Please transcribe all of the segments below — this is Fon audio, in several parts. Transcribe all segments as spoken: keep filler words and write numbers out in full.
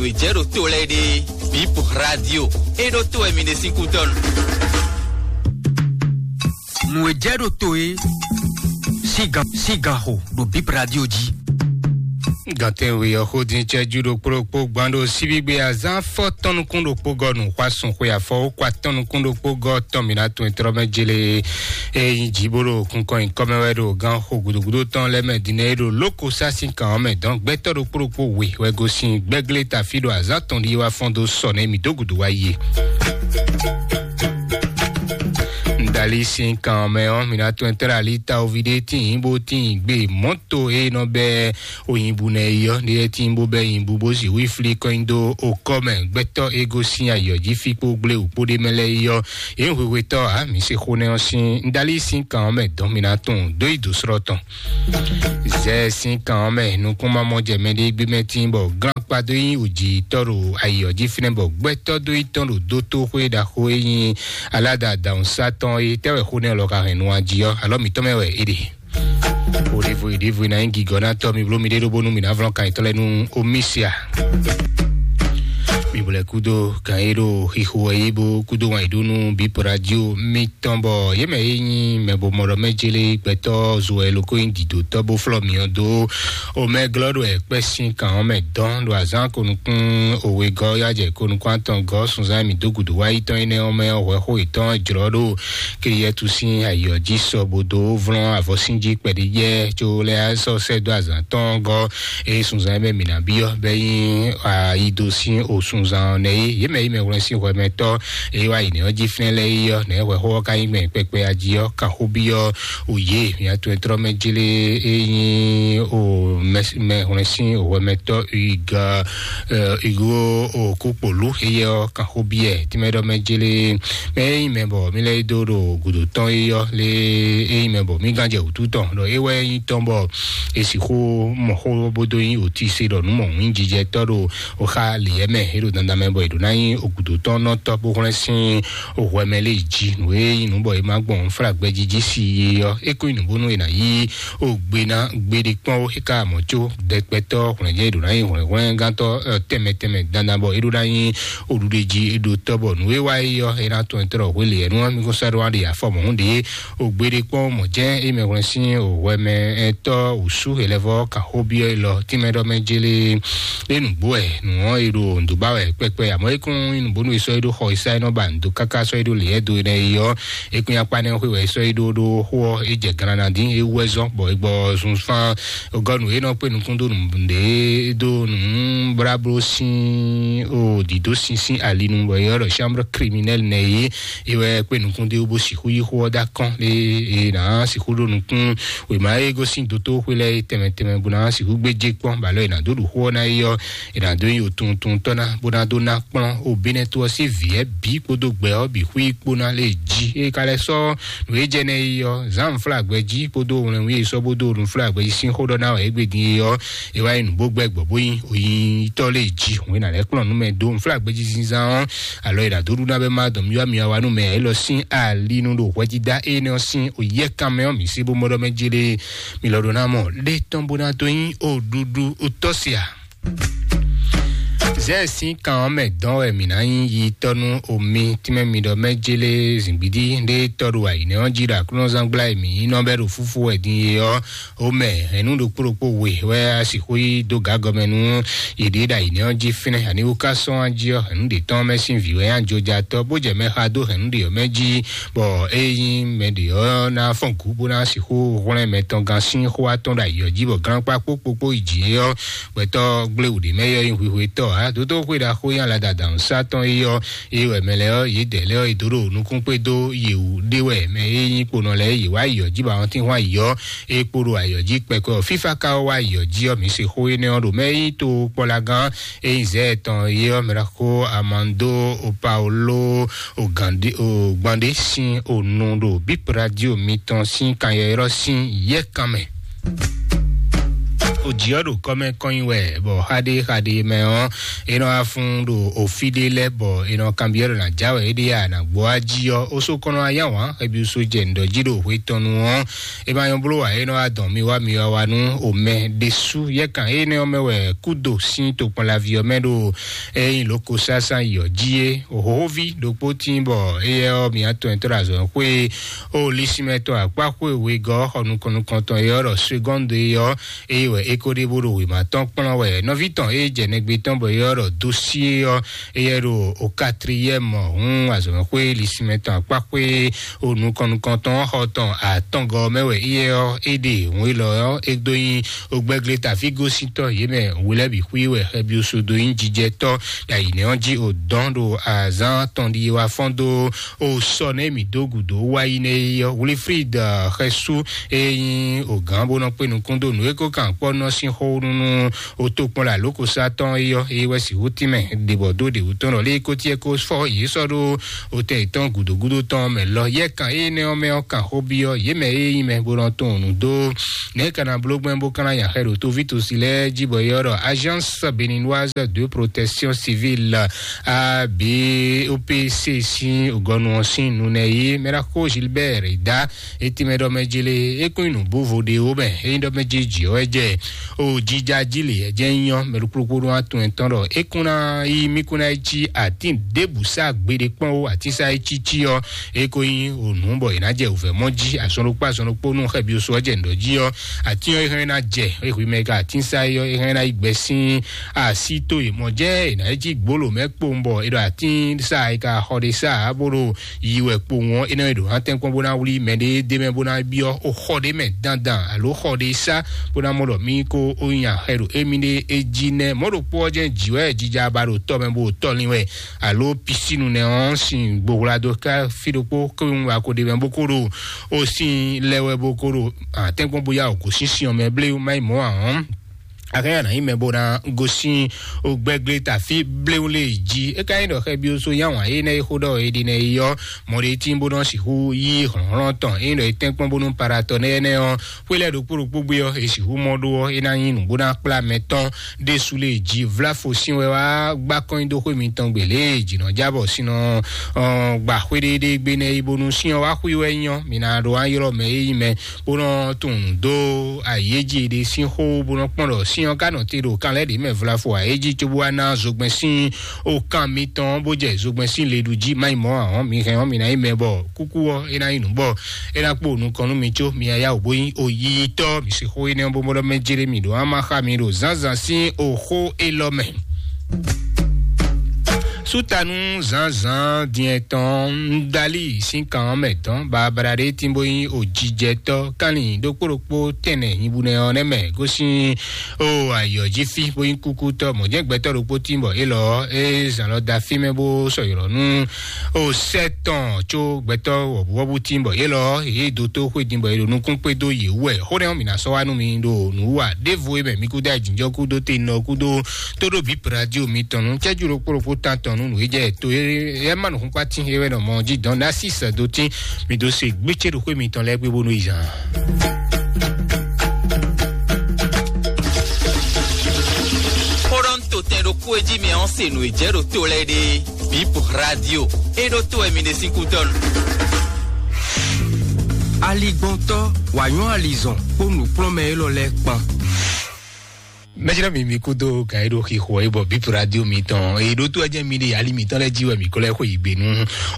Jɛ ɖo to lɛ ɖe, Bip Radio. E ɖo to wɛ mi ɖe sín kútɔnu. Nǔ e jɛ ɖo to e, sígan sígan xo ɖo Bip Radio jí. Gantɛn we ɔ́ xó din cɛjú ɖokpó ɖokpó gbán ɖo síbígbe azán fɔ tɔn nukún ɖokpó gɔ nǔ xwá sun xwe afɔ ó kwa tɔn nukún ɖokpó gɔ tɔn mi ná tun etrɔ mɛ jele. Eyin jibolo kunkɔn inkɔmɛ wɛ ɖo gan xo gudugudu tɔn lɛ mɛ dinɛ e ɖo loko sá sín kan ɔ́ mɛ dɔn gbɛtɔ ɖokpó ɖokpó we wɛ gosin gbɛglé tafi ɖo azán tɔn ɖi wá fɔn dó sɔ nɛ mi dó gudu wá yi. Ndali sín kan ɔ́ mɛ ɔ́ mi ná tun etrɔ ali ta ovi ɖé tín bó tín gbé mɔto e nɔ bɛ oyinbu nɛ yi ɔ́, ɖe e tín bó bɛ yinbu bó zi wí fli kɔnyi dó okɔ mɛ gbɛtɔ e gosin ayɔ jí fi kpó gblé wǔ kpó ɖé mɛ lɛ yi ɔ́, yě hwehwetɔ a mi se xó nɛ ɔ́ sín ndali sín kan ɔ́ mɛ dɔn mi ná tun dó yi dǒ srɔ́ tɔn. Zɛ sín kan ɔ́ mɛ nukún ma mɔ jɛ mɛ ɖé gbé mɛ tín bɔ glán kpa dó nyi òjì tɔ́ ɖo ayɔ jí fínɛ́ bɔ gbɛtɔ dó yi tɔn ɖo dótó xwé ɖaxó e nyi alada dawun satɔn e tɛ́ wɛ xó nɛ lɔ ka hɛn nú ají ɔ́ alɔ mǐtɔn mɛ wɛ é ɖe. Oɖevo iɖevo ina nyi gigɔ na tɔ mi blo mi ɖe ɖo bónú mi ná vlɔn kan yětɔn lɛ nú omisia. Mi blo lɛ kúdó kan yé ɖo xixo wɛ yé bó kúdó wan yě ɖó nú bípo radio mitɔn bɔ yé mɛ yé nyi mɛ bo mɔ ɖɔ mɛ jélé gbɛtɔ zo wɛ loko nyi didotɔ bó flɔ miɔ dó. O mɛ glɔ ɖo ɛkpɛ sín kan ɔ́ mɛ dɔn ɖo azán ko nukún owe gɔ yá jɛ ko nukún atɔn gɔ sunzan mi dó gudu wá yi tɔn énɛ́ ɔ́ mɛ ɔ́ hwɛ xó yětɔn jlɔ ɖo Kliyɛtu sín ayǐ ɔ́ jí sɔ bó dó vlɔ́n avɔsínjí kpɛɖé jɛ có lɛ́ sɔ́ sɛ́ dó azǎn tɔn gɔ́. Ée sunzan e mɛ mǐ ná byɔ́ bɛ́ nyí ayido sín osunzan ɔ́ nɛ́ é. Yě mɛ yi mɛ hwlɛ́n sín hwɛmɛtɔ́ e wá yi nɛ̌ ɔ́ jí flɛ́n lɛ́ɛ é ɔ́, nɛ̌ hwɛxó ɔ́ ka nyí gbɛn kpɛkpɛ ají ɔ́, ka xó byɔ́ o yě mǐ atɔn e tlɔ́ mɛ jlé é nyí o mɛ hwlɛ́n sín hwɛmɛtɔ́ iga igo o kúkpolú éyɛ́ ɔ́, kan xó byɔ́ ɛ tínmɛ ɖɔ mɛ jlé mɛ é nyí mɛ bɔ mí lɛ́ yi dó ɖo gǔdo tɔn é ɔ́ lé é nyí mɛ bɔ mí gán jɛ wǔtu tɔn ɖɔ é wɛ nyí tɔn bɔ è sixú mɔ xó bó dó nyí òtíse ɖɔ nǔ mɔ̌hunjijɛtɔ́ ɖo oxa lǐyɛ mɛ é ɖo dandan mɛ bɔ è ɖǒ ná nyí ògǔdo tɔn nɔ tɔ́ bó hwlɛ́n sín hwɛ mɛ lé jí nǔ e nyí nǔ bɔ è má gbɔn fla gbɛjiji sí é ɔ́ é kó nyí nǔ bónú è nǎ yí o gbe ná gbeɖé kpɔ́n ó é ka mɔ̌ có dɛkpɛtɔ́ hwlɛ̌njɛ́n è ɖǒ ná nyí hwlɛ̌nhwlɛ́ngántɔ́ tɛnmɛ tɛnmɛ dandan bɔ é ɖó ná nyí oɖuɖejí é ɖó tɔ́ bɔ nǔ e wá é ɔ́ é ná tɔn tɔ́ hwelě ɛnú ɔ́ mí kó sɔ́ ɖó wá ɖe afɔ mɔ̌hun ɖě o gbeɖé kpɔ́n mɔ̌ jɛ́n é mɛ hwlɛ́n sín o hwɛ mɛ ɛtɔ́ wǔsú hɛlɛvɔ́ kan xó byɔ́ élɔ́ tínmɛ ɖɔ mɛ jélé é nǔgbó wɛ nǔ ɔ́ é ɖo nǔdó ba wɛ kpɛkpɛ àmọ́ é kún nyí nǔbónú é sɔ́ é ɖó xɔ é sá é nɔ ba nǔdó káká sɔ́ é ɖó lě é do énɛ́ é ɔ́ é kún nyí akpá nɛ́ xwé wɛ é sɔ́ é ɖó ɖó xó ɔ́ é jɛ gannadín é wú wɛ zɔ́n bɔ é gbɔ zunfán gɔ́ nǔ é nɔ kpé nukún dó nǔɖé dó nǔblábló sín o dǐdó sín sín ali nu bɔ é ɔ́ ɖɔ chambre criminelle nɛ é é wɛ kpé nukún dó bó sixú yí xó ɔ́ dó akɔ́n é é nǎ sixú ɖó nukún wěma é gosín dótó xwé lɛ́ɛ é tɛnmɛ tɛnmɛ bó ná sixú gbé jé kpɔ́n bɔ alɔ è nǎ dó ɖu xó ɔ́ ná é ɔ́ è nǎ dó nyi òtuntun tɔ́ ná bó ná dó ná kplɔ́n o Benɛto ɔ́ sín vǐ ɛ bǐ kpódó gbɛ ɔ́ bǐ xwí kpó ná lé jí é ka lɛ́ sɔ́ nǔ e jɛ nɛ é ɔ́ zǎnflágbɛ jí kpódó wlɛnwí e sɔ́ bó dó nǔflágbɛ jí sín xó ɖɔ ná wɛ é gbe din é ɔ́ é wá nyí nǔ bó gbɛ gbɔ bó nyí oyítɔ́ lé jí òun é nǎ lɛ́ kplɔ́n nú mɛ dó nǔflágbɛ jí zínzán ɔ́ alɔ è nǎ dó ɖu ná bɛ má dɔn mì wá mì wá wá nú mɛ élɔ́ sín ali nú ɖo hwɛjídá énɛ́ ɔ́ sín oyɛ́kan mɛ ɔ́ mǐ sí bó mɔ ɖɔ mɛ jélé mì lɔ ɖó ná mɔ lé tɔn bó ná dó nyí oɖuɖu tɔ́ sia. Zɛ sín kan ɔ́ mɛ dɔn wɛ mǐ ná nyí yi tɔ́ nú omi tínmɛ mi ɖɔ mɛ jélé zǐngbídí ɖé tɔ́ ɖo ayǐnɛ́ ɔ́ jí ɖo aklúnɔzán gbla e mǐ nyí nɔ bɛ́ ɖo fúfú wɛ din é ɔ́ ó mɛ hɛ̌nnu ɖokpó ɖokpó we wɛ a sixú yi dó gǎ gɔmɛ nú yě ɖíe ɖo ayǐnɛ́ ɔ́ jí fínɛ́ ani wú ká sɔ́n á jí ɔ́ hɛ̌nnu ɖě tɔn mɛ sín vǐ wɛ nyí ajojatɔ́ bó jɛ mɛ xa dó hɛ̌nnu ɖě ɔ́ mɛ jí bɔ é nyí mɛ ɖě ɔ́ ná fɔ́n gǔ bó ná sixú hwlɛ́n mɛ tɔn gán sín xó atɔn ɖo ayǐ ɔ́ jí bɔ glɔ́nkpá kpókpókpó yi jǐ é ɔ́ gbɛtɔ́ gblé wǔ ɖé mɛ é ɔ́ nyí hwihwetɔ́ ǎ dódó xwé ɖaxó nyí alada dǎhun sá tɔn é ɔ́ é wɛ mɛ lɛ́ɛ ɔ́ yědɛɛ lɛ́ɛ ɔ́ è dó ɖo nukún kpé dó yě wú ɖé wɛ mɛ e nyí kponɔ lɛ́ɛ yě wá yi ɔ́ jí bɔ àwọn tín hwan yi ɔ́ é kpo ɖo ayɔ jí kpɛkɔ fífá ka wá yi ɔ́ jí ɔ́ mǐ se xó énɛ́ ɔ́ ɖo mɛ e nyí to kpɔ́lagán e nyí zɛ tɔn é ɔ́ mɛ ɖaxó amando opaolo ogbande sín onu ɖo bíp radio mitɔn sín kanyɛ́yrɔ́ sín yɛ́kan mɛ. Ojǐ ɔ́ ɖo kɔ́mɛ kɔn nyi wɛ, bɔ xaɖé xaɖé mɛ ɔ́, é nɔ wá fún ɖo ofi ɖé lɛ́ɛ, bɔ é nɔ kanbyɔ́ ɖɔ nǎ já wɛ é ɖe a nǎ gbɔ wá jí ɔ́, ó só kɔn nɔ wá yá wǎn xɛbyusu jɛ nǔɖɔ jí ɖo hwe tɔn nu ɔ́, é ma nyɔ́ bló ǎ, é nɔ wá dɔn mi wá mi wá wá nú omɛ ɖésú. Yɛkan énɛ́ ɔ́ mɛ wɛ kúdo sín tokpɔnlaví ɔ́ mɛ ɖo ényí lǒko sásán yi ɔ́ jí é. Hǒxóví ɖokpó tíin bɔ éyɛ́ ɔ́, mǐ atɔn e tɔ́ ɖo azɔ̌xwé ó lísímɛ tɔn akpáxwé wegɔ́ xɔ nukɔn nukɔntɔn é ɔ́ ɖɔ segɔ́ndu é ɔ́, eye wɛ é ko ɖe bó ɖo wěma tɔn kplɔ́n wɛ. Nɔví tɔn e jɛ nɛgbé tɔn bɔ é ɔ́ ɖɔ dósié ɔ́, éyɛ́ ɖo o quatrième hǔn azɔ̌xwé lísímɛ tɔn akpáxwé o nukɔn nukɔntɔn xɔ tɔn atɔngɔ mɛ wɛ éyɛ́ ɔ́, é ɖe hǔn élɔ́ ɔ́, é dó nyi ogbɛ́glé tafígosíntɔ́ yě mɛ wulɛ́bǐ xwí wɛ xɛbyusu dó nyí jijɛtɔ́ ɖo ayǐnɛ́ ɔ́ jí o dɔn ɖo azǎn tɔn ɖi wá fɔ́n dó o sɔ nɛ mǐ dó gǔdo wá yi nɛ yi ɔ́. Wilfrid xɛsú e nyí o gǎn bó nɔ kpé nukún dó nǔ e ko kan kpɔ́ nɔ sín xó nú o tokpɔn la lókosá tɔn é ɔ́, é wɛ sixú tínmɛ ɖe bɔ dó ɖě wú tɔn lɔ lé kótiɛ kó fɔ yě sɔ́ ɖó o tɛ yětɔn gǔdo gúdo tɔn mɛ lɔ. Yɛ kan énɛ́ ɔ́ mɛ ɔ́ kan xó byɔ́ yě mɛ e nyí mɛ bó nɔ tɔn nǔ dó nɛ̌ ka ná bló gbɛn bó ka ná nya xɛ ɖo tóví tosi lɛ́ɛ jí bɔ é ɔ́ ɖɔ Agence Béninoise de Protection Civile, A B O P C, sín gɔnu ɔ́ sín nunɛ yí Mɛɖaxó Gilbert Ida. Etí mɛ ɖɔ mɛ jele é kún nyi nǔbúvo ɖe ó mɛ é nyí ɖɔ mɛ jiji ɔ́ wɛ jɛ o jija jí lě ɛ jɛ nyɔ mɛ ɖokplokpo ɖó atún ɛtɔn ɖɔ é kún ná yí mí kún ná yi cí atín ɖěbǔ sá gbeɖé kpɔ́n ó atín sá é cí cí ɔ́ é ko nyí o nǔ bɔ è nǎ jɛ wǔvɛ́ mɔ jí azɔn ɖokpó azɔn ɖokpó nú xɛbyosó ɔ́ jɛ nǔ ɖɔ jí ɔ́ atín ɔ́ é hɛn ná jɛ é hwi mɛ ka atín sá é ɔ́ é hɛn ná yi gbɛ sín así tó yě mɔ jɛ è nǎ yi cí gbolo mɛ kpowun bɔ è ɖɔ atín sá é ka xɔ ɖé sá bó ɖo yi wɛ kpowun ɔ́ é nɔ yi ɖo hán tɛ́nkpɔ́n bó ná wlí mɛ ɖé dé mɛ bó ná byɔ́ ó xɔ ɖé mɛ dandan alo xɔ ɖé sá bó ná mɔ ɖɔ mí kó ó nya xɛ ɖo émí ɖé é jí nɛ́. Mɔ̌ ɖokpó ɔ́ jɛ́n jǐ wɛ jija ba ɖo tɔ́ mɛ bó ɖo tɔ́ lin wɛ alo pisínu nɛ́ ɔ́ sin gbohwla dó ká fí ɖokpó kó wá ko ɖe mɛ bó kó ɖo ó sin lɛ wɛ bó kó ɖo atɛ́nkpɔ́n bó yá wǒ gosín sin ɔ́ mɛ blé má yi mɔ̌ ǎ ɔ́. Akɛnya nǎ nyí mɛ bó ná gosín ogbɛ́glé tafí bléwlé jí. É ka nyí ɖɔ xɛbyosó yá wǎn énɛ́ e xó ɖɔ è ɖi nɛ é yɔ́ mɔɖétín bó nɔ́ sixú yí hlɔ̌nhlɔ́n tɔn é nyí ɖɔ è tɛ́nkpɔ́n bónú paratɔ nɛ́ énɛ́ ɔ́, xwé lɛ́ɛ ɖokpó ɖokpó gbé ɔ́, è sixú mɔ ɖó ɔ́, é ná nyí nǔ bó ná kplá mɛ tɔn ɖésú lé jí. Vláfo sín wɛ wá gbá kɔn nyi dó xwé mitɔn gbě lě e jǐnɔjábɔ sín nɔ gbà xwéɖéɖé gbé nɛ́ é bónú sín ɔ́ wá xwí wɛ nyí ɔ́, mǐ ná ɖó wá ylɔ́ mɛ e nyí mɛ bó nɔ tunwun dó ayéji ɖé sín xó bó nɔ kpɔ́n ɖɔ sín ɔ́ ka nɔ te ɖo kan lɛ́ɛ ɖě mɛ vlafo ayéji cóbó wá ná zogbɛ́n sín okan mitɔn bó jɛ zogbɛ́n sín leɖu jí má nyí mɔ̌ ǎ ɔ́, mi hɛn ɔ́, mi ná nyí mɛ bɔ kúkú ɔ́ é ná nyí nǔ bɔ é ná kpó nukɔn nú mi có mi yá wǒ bó nyí oyíyítɔ́. Mi se xó énɛ́ bó mɔ ɖɔ mɛ jlé mi ɖo ama xa mi ɖo zǎnzǎn sín oxó élɔ́ mɛ. Sútanu zǎnzǎn diɛn tɔn ń dalí sín kan ɔ́ mɛ tɔn babala ɖé tín bó nyí òjijɛtɔ́ kánlin ɖokpó ɖokpó tɛnɛ nyibúnɛ ɔ́ nɛ́ mɛ gosín o ayɔ̌ jí fí bó nyí kúkútɔ́ mɔ̌ jẹ́ gbɛtɔ́ ɖokpó tín bɔ élɔ́ é zǎn lɔ da fí mɛ bó sɔyɔ̌ nú o sɛ́ tɔn có gbɛtɔ́ wɔ̌búwɔ́bú tín bɔ élɔ́ yě dó tó xwé din bɔ è ɖo nukún kpé dó yě wú wɛ. Xó nɛ́ ɔ́ mǐ ná sɔ́ wá nú mi ɖo nǔ wa ɖěvo e mɛ mi kúdó ajǐnjɔ́ kúdó te nɔ kúdó tó ɖó bǐ radio mitɔn nú cɛ́jú ɖokpó ɖokpó tán tɔn nú nǔ e jɛ to e ma nǔ xúnkpá tín é wɛ nɔ mɔ jí dɔn ná sí sɛ́ dó tín. Mi dó se gbécé ɖo xwé mitɔn lɛ́ɛ gbé bónú yi zan. Xóɖɔ́ntotɛn ɖokpó e jí mi ɔ́ se nǔ e jɛ ɖo to lɛ́ɛ ɖe. Bip radio e ɖó to wɛ mi ɖe sín kútɔ́ nu. Aligbɔntɔ́ wǎ nyɔ́ alizɔn kpó nǔkplɔ́nmɛ élɔ́ lɛ́ɛ kpán. Mɛjlɛ mi mi kúdó ka e ɖo xixo e bɔ bip radio mitɔn e ɖó tó ɛjɛ mi ɖe ali mitɔn lɛ jí wɛ mi kɔ lɛ xo yi gbe nú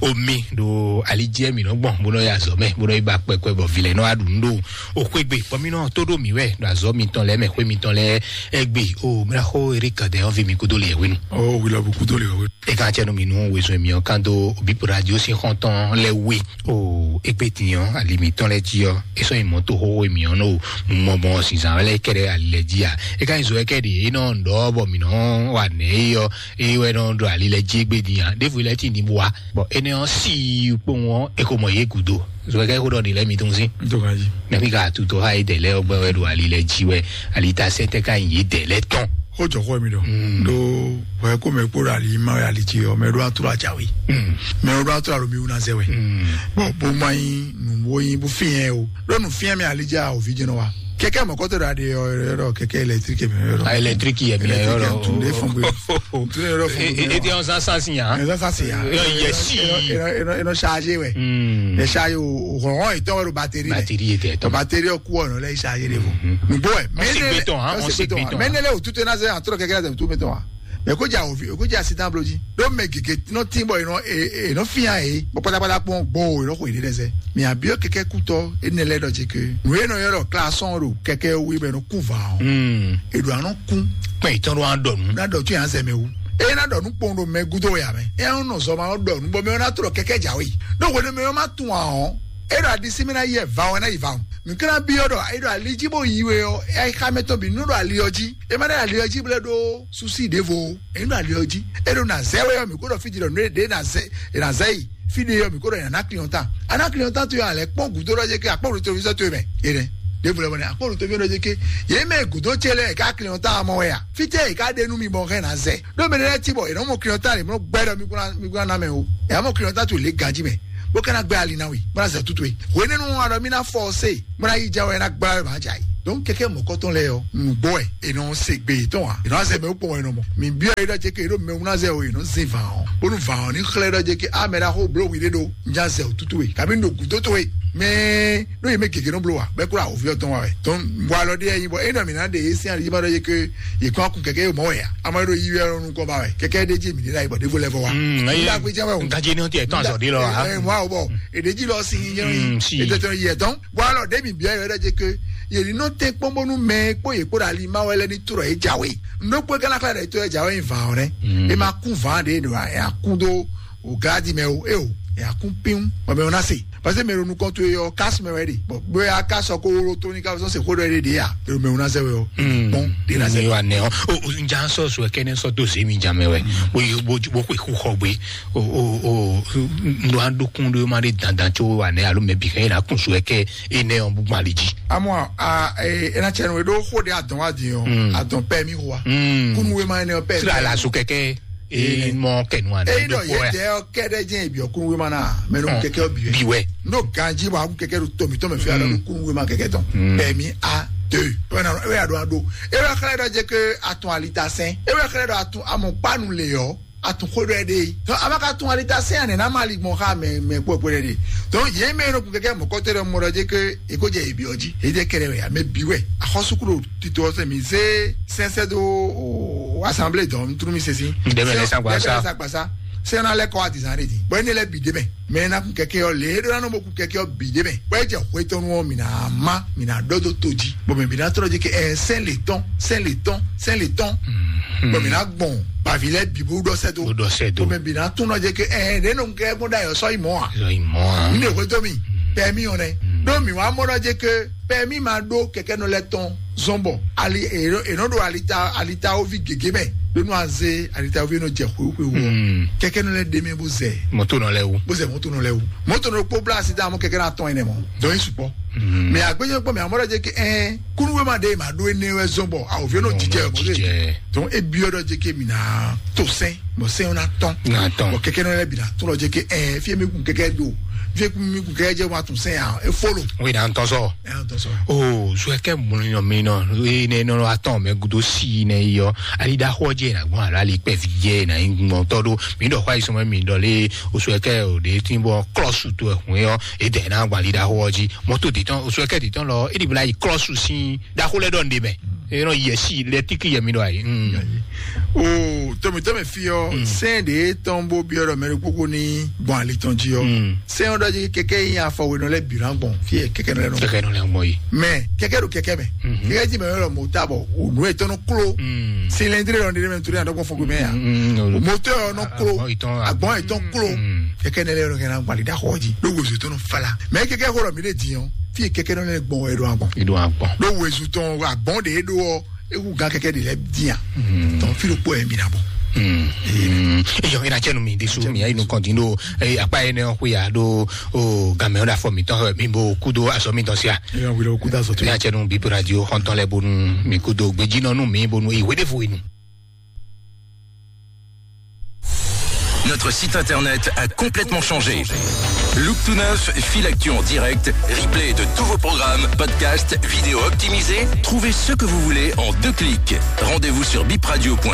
omi ɖo ali jí mi nɔ gbɔn bó nɔ ya azɔ mɛ bó nɔ yi ba kpɛkpɛ bɔ vi lɛ nɔ aɖu nu ɖo o xwé gbe bɔ mi nɔ tó ɖo mi wɛ ɖo azɔ mitɔn lɛ mɛ xwé mitɔn lɛ ɛgbe o mla xo eri kadɛ ɔvi mi kúdó le ɛwenu. Ɔ wila bu kúdó le ɛwenu. E ka cɛ nu mi nu wezun mi ɔ kan do bip radio si xɔntɔn lɛ we. O egbe tinyɔ ali mitɔn lɛ jí ɔ esɔ yi mɔto xoxo mi ɔ no mɔmɔ sinzan lɛ kɛɖɛ ali lɛ jí a e ka nyi zo ɛkɛ ɖe e nɔ ɖɔ bɔ mi nɔ wa nɛ e yɔ e wɛ nɔ ɖɔ ali lɛ jí egbe din a ɖevo lɛ ti ni bua bɔn ene ɔ si kpowun ɔ e ko mɔ ye gudo zo ɛkɛ ko ɖɔ ni lɛ mi tun si. Ntokaji. Mɛ mi ka tuto ha yi dɛ lɛ ɔgbɛ wɛ ɖo ali lɛ jí wɛ ali ta sɛ tɛ ka nyi ye dɛ lɛ tɔn. Ó jɔ xɔ mi dɔ. Mm. Ɖo wɛ ko mɛ kpó ɖo ali ma wɛ ali jí ɔ mɛ ɖo atura jawe. Mm. Mɛ ɖo atura ɖo mi wuna zɛ wɛ. Mm. Bɔn bó ma nyi nu bó nyi bó fi yẹn o ɖo nu fi yẹn mi ali dza o vi jɛnɛ wa. Kɛkɛ mɔkɔtɔ ɖa ɖe yɔ yɔ kɛkɛ électrique mi yɔ. Ah, électrique yɛ mi yɔ. Tun de fɔn gbe. Tun de yɔ fɔn gbe. E te ɔn sansan si yan. Ɛn sansan si yan. Yɛ si. Eno eno chargé wɛ. Hmm. E chargé o hɔn hɔn etɔn wɛ batterie. Batterie yɛ tɛ tɔn. Batterie ku ɔnɔ lɛ chargé de fɔ. Nugbo wɛ. On se beton, hein, on se beton. Mɛ ne lɛ o tutu na se an tɔrɔ kɛkɛ la tu beton. Mɛ ko ja ovi ko ja sitan bloji. Ɖó mɛ gěgé nɔ tín bɔ è nɔ è nɔ fia yě bɔ pátápátá kpɔn gbɔn o è nɔ xo yě ɖe lɛsɛ. Mɛ abiɔ kɛkɛ kutɔ énɛ́ lɛ́ɛ ɖɔ ce ke nǔ e nɔ ylɔ́ ɖɔ klasɔn ɖo kɛkɛ wí bɔ è nɔ kú va ɔ́. È ɖo anɔ kún. Kpɛn ìtɔn ɖo an ɖɔ nǔ. Ná ɖɔ tún yàn zɛ mɛ wú. E ná ɖɔ nú kpɔn ɖo mɛ gúdo ya mɛ. E ná nɔ zɔ ma ɖɔ nú bɔ mɛ ná trɔ kɛkɛ jǎwe. Ɖó hwenu mɛ ɔ́ má tún ǎ ɔ́, e ɖo aɖisí mɛ ná yi va ɔ́ ná yi va ɔ́. Nǔ ká ná byɔ́ ɖɔ e ɖo ali jí bó yi we ɔ́, e xá mɛ tɔn bǐ nú ɖo ali ɔ́ jí. E má ɖo ali ɔ́ jí blɛ́ ɖó súsí ɖěvo o. Ényí ɖo ali ɔ́ jí, é ɖo nǎ zɛ wɛ ɔ́, mǐ kó ɖɔ fí jí ɖɔ nǔ e ɖě nǎ zɛ è nǎ zɛ yi. Fí ɖé ɔ́, mǐ kó ɖɔ è nǎ ná client tán. A ná client tán towe a lɛ̌ kpɔ́n gǔdo ɖɔ jɛ kí akpɔ́n ɖo tovisɔ towe mɛ. É nɛ́. Ɖěvo lɛ́ bɔ nɛ́ akpɔ́n ɖo tovisɔ ɖɔ jɛ kí yě mɛ gǔdo ce lɛ́ɛ ká client tán mɔ wɛ a? Fítɛ́ è ká ɖe nú mi bɔ hɛn nǎ zɛ. Ɖó mɛ ɖé lɛ́ɛ cí bɔ è nɔ mɔ client tán lě mɔ gbɛ ɖɔ mi kún ná mi kún ná ná mɛ o. È nǎ mɔ client tán towe lě ganjí mɛ. Bó ka ná gbɛ ali ná we, bó ná zɛ tútú we. Hwenɛ́nu ɔ́, a ɖɔ mí ná fɔ ɔ́ se. Mura yi jɛ wɛ na gba wɛ ma ja yi. Donc kɛkɛ mɔkɔtɔn lɛ yɔ, nugbo wɛ e nɔ se gbe tɔn wa. E nɔ se gbe kpɔn wɛ nɔ mɔ. Mi bi ayi ɖɔ jɛ ke ɖo mɛ wuna zɛ o e nɔ zin van ɔ. Bonu van ɔ ni xlɛ ɖɔ jɛ ke amɛ ɖa xo blo wi ɖe ɖo. Nja zɛ o tutu we. Kabi no gudo to we. Mɛ no ye mɛ gege nɔ blo wa. Bɛ kura o viɔ tɔn wa wɛ. Donc bɔ alɔ de yi bɔ e nɔ mi na de e sin ali ma ɖɔ jɛ ke ye kɔ kun kɛkɛ ye mɔ wɛ ya. Ama ɖo yi wɛ nɔ nukɔ ba wɛ. Kɛkɛ de ji mi de la yi bɔ de vo lɛ fɔ wa. Mm, ayi. Nda gbe jɛ wɛ o. Nda je ni o ti e tɔn azɔ de lɔ wa. E mɔ awo bɔ. E de ji lɔ si yi. Mm, si. E tɛ tɔn yɛ tɔn. Bɔ alɔ ɖe mi bia yɔ ɖe ke ye ni nɔ te kpɔn bonu mɛ kpɔ ye kpɔ ɖe ali ma wɛ lɛ ni trɔ ye jawe. Ndo kpɔ kana kla ɖe to ye jawe va o ne. E ma kun va de do ya kun do o gadi mɛ o e o ya kun pin o mɛ o na se. Parce que mɛ o nukɔn to ye o kas mɛ wɛ de. Bɔ bɛ ya kas ko wolo to ni ka sɔ se ko dɔ ye de ya. E o mɛ o na se wɛ o. Bon, de na se. Mi wa ne o. O nja sɔ so kene sɔ do se mi ja mɛ wɛ. Bo bo bo ko ku xɔ gbe. O o o ndo an do kun do ma de dandan tso wa ne alo mɛ bi kɛ na kun so kɛ e nɛ ɔn bu mali ji. Amɔ a e na cɛ no e ɖo xo ɖe adɔn wa di ɔ adɔn pɛ mi wa kunu we ma ne pɛ sira la so kɛkɛ e mɔ kɛnu wa ne eyi do dɔ ko yɛ ya dɛ ɔ kɛ ɖe jɛ bi ɔ kunu we ma na mɛ no kɛkɛ ɔ bi wɛ bi wɛ no ganji ma kun kɛkɛ do tomi tɔmɛ fi alo kunu we ma kɛkɛ tɔn pɛ mi a de wɛ na wɛ ya do a do e wɛ xlɛ dɔ jɛ ke atɔn alita sɛn e wɛ xlɛ dɔ atɔn amɔ kpanu le yɔ atun xó ɖɔ ɛ ɖe yi. Donc a ma ka tún ali ta sɛn anɛ na ma ali gbɔn xa mɛ mɛ kpɔ kpɔ ɖe ɖe. Donc yé mɛ nɔ kun kɛkɛ mɔkɔtɔ ɖe mɔ ɖɔ jɛ ke eko jɛ ebi ɔji e jɛ kɛrɛ wɛ ame bi wɛ axɔsukulu tito ɔsɛ mi zé sɛnsɛ do assemblée dɔn tunu mi sɛsi. Ndɛmɛ lɛ sa gbasa. Sɛn na lɛ kɔ adizan ɖe di bɔn ene lɛ bi de mɛ. Mɛ na kun kɛkɛ ɔ le ɖo na nɔ mo kun kɛkɛ ɔ bi de mɛ bɔn e jɛ xwe tɔnu ɔ mi na ma mi na dɔ do to ji bɔn mɛ bi na tɔrɔ ji ke ɛ sɛn le tɔn sɛn le tɔn sɛn le tɔn bɔn mi na gbɔn bavi lɛ bi bo dɔ sɛ do. Bo dɔ sɛ do. Bɔn mɛ bi na tún nɔ je ke ɛ ne nɔ kɛ gbɔn da yɔ sɔ yi mɔ a. Sɔ yi mɔ a. Mi ne xwe to mi pɛ mi yɔ nɛ ɖo mi wa mɔ nɔ je ke pɛ mi ma ɖo kɛkɛ nɔ lɛ tɔn zɔn bɔ ali enɔ ɖo alita alita wo vi gege mɛ ɖo nu aze alita wo vi nɔ jɛ xwe xwe wo kɛkɛ nɔ lɛ ɖe mi bo zɛ. Mɔto nɔ lɛ wo. Bo zɛ mɔto nɔ lɛ wo mɔto nɔ kpó bla asi da mɔ kɛkɛ na tɔn yi nɛ mɔ dɔn yi sukpɔ. Mɛ agbẹjọ kpɔ mɛ amọdọ jẹ kí ẹ kúnúwé ma dé ma ɖó éné wɛ zɔn bɔ awòfin nɔ jíjẹ mɔ dé. Tɔn ebi ọdọ jẹ kí mi na tó sẹn bɔ sẹn na tɔn. Na tɔn. Bɔ kɛkɛ nɔ lɛ bi na tó lọ jẹ kí ẹ fi mi kun kɛkɛ do fi mi kun kɛkɛ jẹ wa tún sẹn ya e folo. Wí na ntɔ sɔ. Ẹ ntɔ sɔ. O zuɛ kɛ mlɔnyɔ mi nɔ ene nɔ atɔn mɛ gudo si ne yɔ ali da xɔ jɛ na gbɔn alo ali kpɛ vi jɛ na yi gbɔn tɔ do mi dɔ xɔ ayi sɔmɔ mi dɔ le o zuɛ kɛ o de ti bɔ klɔsu to ɛhun yɔ e dɛ na gbali da xɔ ji mɔto de tɔn o zuɛ kɛ de tɔn lɔ e de bla yi klɔsu si da xɔ lɛ dɔ nde mɛ e nɔ yɛ si lɛ tiki yɛ mi dɔ ayi. O tɔmɛtɔmɛ fi ɔ sɛn de tɔn bo bi ɔ dɔ mɛ de kpokpo ni gbɔn ali tɔn ji ɔ. Sɛn ɔ dɔ ji kɛkɛ yi afɔ wenɔ lɛ bi na gbɔn fi kɛkɛ nɔ lɛ nɔ. Kɛkɛ nɔ lɛ gbɔn yi. Mɛ kɛkɛ do kɛkɛ mɛ kɛkɛ ji mɛ yɔrɔ mɔ ta bɔ o nu etɔn nɔ klo. Silɛndiri dɔ nde mɛ nítorí àdɔgbɔn fɔgbɔ mɛ ya. Mɔtɔ yɔ nɔ klo agbɔn etɔn klo kɛkɛ nɛ lɛ yɔrɔ kɛ na gbali da xɔ ji ló wozo tɔn fala mɛ kɛkɛ xɔ mi de di yɔ fi kɛkɛ nɔ lɛ gbɔn wɛ do agbɔn. Ido agbɔn. Ló wozo tɔn agbɔn de do ɔ ewu gan kɛkɛ de lɛ di yan. Tɔn fi lo kpɔ yɛ mi na bɔ. Eyɔ ina cɛ nu mi de su mi ayi nu kɔntin do akpa yɛ nɛ ɔkú ya do o gamɛ ɔda fɔ mi tɔn mi bo kudo asɔ mi tɔn sia. Eyɔ wele o kudo asɔ tu. Ya cɛ nu bi radio xɔntɔn lɛ bonu mi kudo gbejinɔ nu mi bonu iwe de fo inu. Notre site internet a complètement changé. Look tout neuf, fil actu en direct, replay de tous vos programmes, podcasts, vidéos optimisées. Trouvez ce que vous voulez en deux clics. Rendez-vous sur bipradio point F R.